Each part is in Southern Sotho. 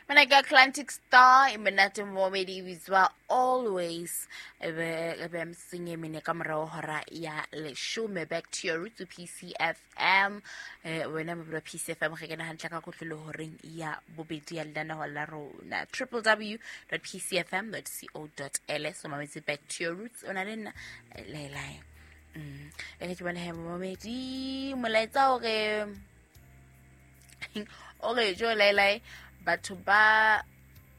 Mona ke Atlantic Star e monate momedi e bitswa Always. E be motsotsong e mene ka morago hora ya leshome. Back to your roots, PCFM. Wena mobedi wa PCFM ge kena hantle ka kotlolo horeng ya bobedi ya lenaneo la rona, www.pcfm.co.ls. O mametse Back to Your Roots, o na le nna Laelae. E re ke bone he momedi molaetsa ore o re jo laelae, batho ba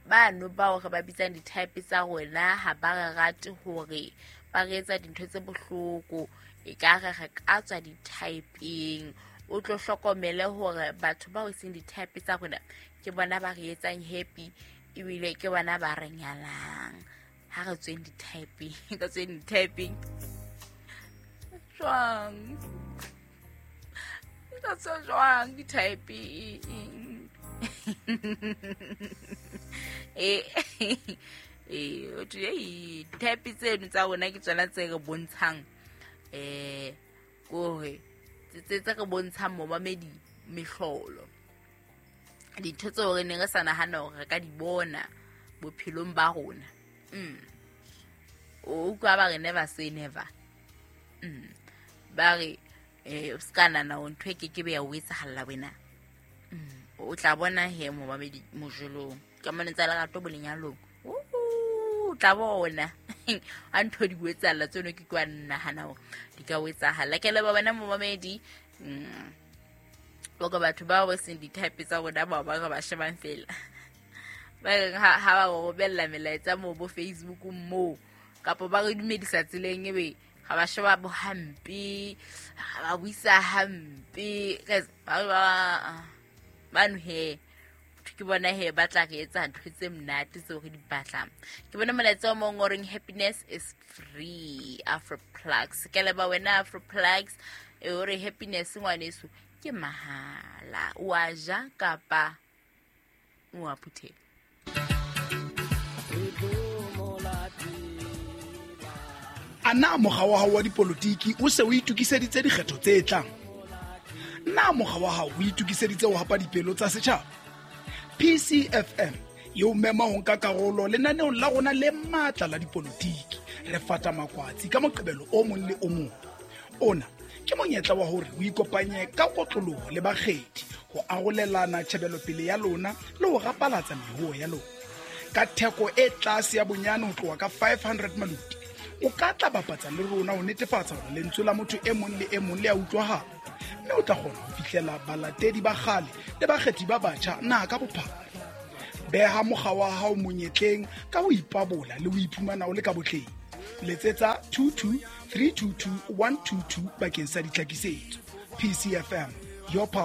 bano bao re ba bitsang di-type tsa rona ha ba re rate hore ba re etsa dintho tse bohloko, e ka re re ka tswa di-typeng. O tlo hlokomele hore batho bao e seng di-type tsa rona ke bona ba re etsang happy, ebile ke bona ba re nyalang. Ha re tsweng di-typeng, ka tsweng di-typeng jwang? Ka tswa jwang di-typeng? Ee, di-type tseno tsa rona ke tsona tse re bontshang, kore tse re bontshang momamedi mehlolo, dintho tseo re neng re sa nahana hore re ka di bona bophelong ba rona. O utlwa ba re never say never. Ba re o ska nahana hore ntho e ke ke be ya o etsahalla wena. O tla bona he momamedi mojolong kamanong tsa lerato bo lenyalong, o tla bona a ntho di o etsahalla tseno ke kwa nahana hore di ka o etsahalla. Ke leba wena momamedi. Boka batho bao ba seng di-type tsa rona, bao ba re ba shebang fela, ba reng ha ba romella melaetsa moo bo Facebook moo, kapa ba re dumedisa tseleng, ebe ga ba sheba bo hampe, ga ba buisa hampe. Guys, ba bano he ke bona he ba tla re etsa ntho tse monate tseo re di batlang. Ke bona molaetsa o mong o reng happiness is free, Afroplugs. Ke leba wena Afroplugs, e o re happiness ngwaneso ke mahala, o a ja kapa o a phuthela. A na mokga wa hao wa dipolotiki o se o itokiseditse dikgetho tse tlang? Na mokga wa hao o itokiseditse ho hapa dipelo tsa setjhaba? PCFM e o mema ho nka karolo lenaneong la rona le matla la dipolotiki. Re fata makwatsi ka Moqebelo o mong le o mong. Ona ke monyetla wa hore o ikopanye ka kotloloho le bakgethi ho arolelana tjhebelopele ya lona le ho rapalatsa mehoho ya lona. Ka theko e tlase ya bonyane ho tloha ka 500 maluti, o ka tla bapatsa le rona ho netefatsa hore lentswe la motho e mong le e mong le a utlwahala, mme o tla kgona ho fihlela balatedi ba kgale le bakgethi ba batjha naha ka bophara. Beha mokga wa hao monyetleng ka ho ipabola le ho iphumana o le ka botleng. Letsetsa 22 322 122 bakeng sa ditlhakisetso. PCFM, your power.